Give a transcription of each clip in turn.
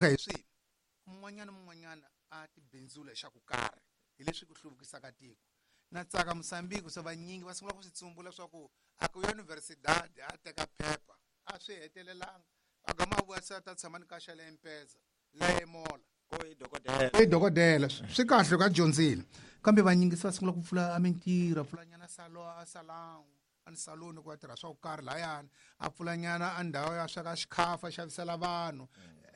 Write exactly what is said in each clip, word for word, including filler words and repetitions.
Hi swihi mun'wanyana mun'wanyana a tibindzula xa ku karhi hi leswi ku hluvukisaka tiko na tsaka Mozambique se vanyingi va sungula ku swi tsumbula swa ku a ku universidade a teka phepha a swi hetelelanga a gama a vuya se a ta tshama ni ka xa le Mpeza la emola ko i dokodela i dokodela swi kahle loko a dyondzile kambe vanyingi se va sungula ku pfula a mintirho a pfula nyana salo a salon a ni saloni ku va tirha swa ku karhi layani a pfula nyana a ndhawu ya sweka xikhafa a xavisela vanhu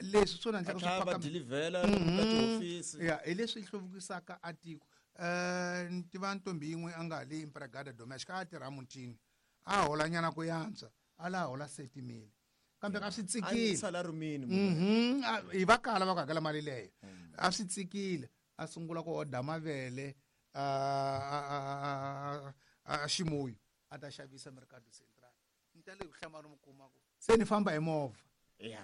leswi swona a endlaka tlhela swi va paka dilivhela ka tihofisi ya hi leswi hluvukisaka a tiko um ni tiva ntombi yin'we a nga le empregada domestic a tirha mutini a hola nyana ku yantswa a la hola seti mili kambe a swi a ni tsikile salary mini Mhm, a- hi va kala va ku hakela mali leyo a swi tsikile a sungula ku oda mavele a a- a- a- a- a ximuyu a ta xavisa mercado central ni ta le ku hlamala mi kuma ku se ni famba hi movha ya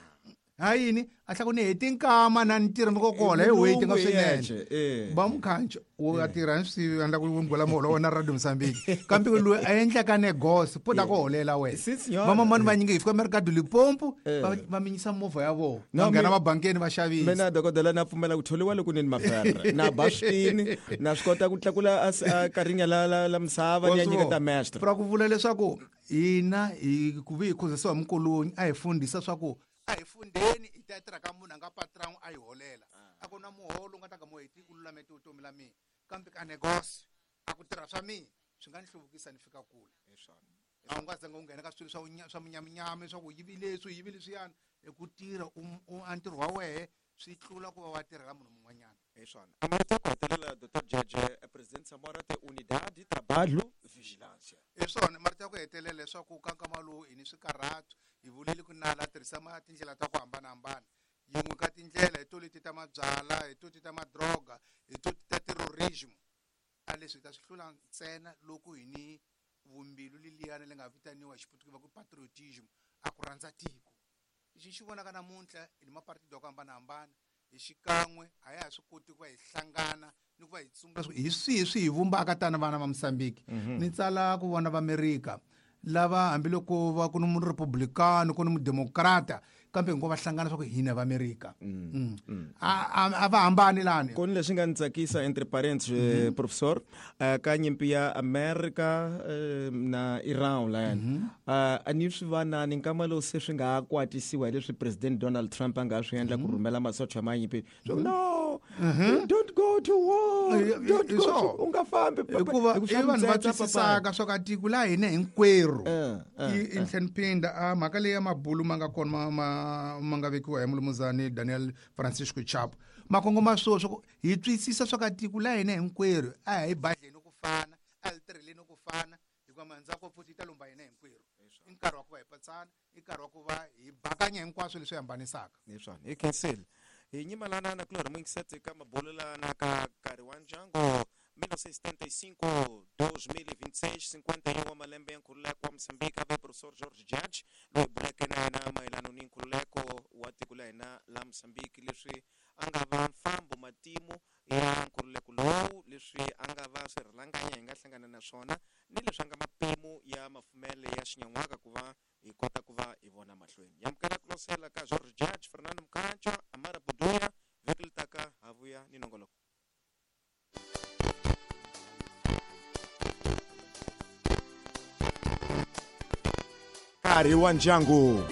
ha yini a tlha ku ni heti nkama na ni tirha mi ko kola hi weti nga swinene eh ba mukhancho wo a tirha ni swi endla ku ngwela muholo wa wena radio Mozambique kambe loyi a endlaka negosi po ta ku holela wena Si, signora. vamamani vanyingi hi fika mercado Limpopo Eh. va va minyisa movha ya vona No, va nghena mi- mabankeni va xavisa mina dokodela na pfumela ku tholiwa loko ni ni mafere na ba switini na swi kota ku tlakula a s- a karinya la la la misava ni ya nyiketa mestre ra ku vula leswaku hina hi ku vi hi khuzisiwa hi mukulunyi a hi fundhisa swa ku a hi fundheni hi ta tirha ka munhu a nga patron a hi holela a ku na muholo u nga ta ka muheti u lulamete vutomi la mina kambe ka negosi a ku tirha swa mina swi nga ni hluvukisa ni fika kule a wu nga zanga u nghena ka swilo swa wunya- swa munyaminyami swa ku yivi leswi yivi leswiyani hi ku tirha u- u- a ntirho wa wehe swi tlula ku va wa tirhela munhu mun'wanyana hi swona a marito ya ku hetelela dr jeje president Samora te unidade trabalho vigilância hi swona marito ya ku hetelela leswaku ka nkama lowu hi ni swikarhato hi vuleli ku nala a tirhisa ma tindlela ta ku hambanahambana yin'we ka tindlela hi to leti ta mabyala hi to ti ta madroga hi to ti ta terrorism a leswi hi ta swi hlula ntsena loko hi ni vumbilu leliyani le nga vitaniwa hi xiputukezi va ku patriotism a ku rhandza tiko lexi xi vonaka namuntlha hi ni mapartido ya ku hambanahambana hi xikan'we a ya ha swi koti ku va hi hlangana ni ku va hi tsumbula hi swihi swi hi vumbaka tani vana va Mozambique ni tsala ku vona va Amerika lava hambiloko va ku ni murepublicano ku ni mudemokrata kambe hinkwavo va hlangana swa ku hina va Amerika Mm. a a- a va hambani lani ku ni leswi nga ni tsakisa entre parents eh, professor eh, ka nyimpi ya America eh, na Iran layani Eh, a ni swi vanani nkama lowu se swi nga ha kwatisiwa hi leswi president Donald Trump a nga swi endla ku rhumela masocha ma nyimpi so no don't go to war Eh, eh, don't eh, go so. to u nga fambi papa. Hikuva Hi ku i swa vanhu va mitsetse, papa. twisisaka swa ka tiko la hina hinkwerhu Eh, eh, i i tlhela ni phinda a mhaka leyi ya mabulu ma nga kona ma ma ma nga vekiwa hi mulumuzani Daniel Francisco Chapo ma kongoma swo swa ku hi twisisa swa ka tiko la hina hinkwerhu a hi badleni ku fana a hi tirheleni ku fana hikuva mandzako futhi yi ta lomba hina hinkwerhu i nkarhi wa ku va hi patsana i nkarhi wa ku va hi bakanya hinkwaswo leswi hambanisaka hi swona hi khensile hi nyimalana na kulorhi muyingiseti ka mabulo lana ka nkarhi wa ndyangu mil novecentos e setenta e cinco dois mil e vinte e seis cinquenta e um wa malembe ya nkhululeko wa Mozambique ave professor George Judge loyi buleke na yena mayelana ni nkhululeko wa tiko la hina la Mozambique leswi a nga va mfambo matimu ya nkhululeko lowu leswi a nga va swirhalanganya hi nga hlangana na swona ni leswi a nga mapimo ya mafumele ya xinyan'waka ku va hi kota ku va hi vona mahlweni hi amukela ku losela ka George Judge Fernando Mkhancho Amara Buduya vhiki li taka ha vuya ni nongoloko Nkarhi wa ndyangu.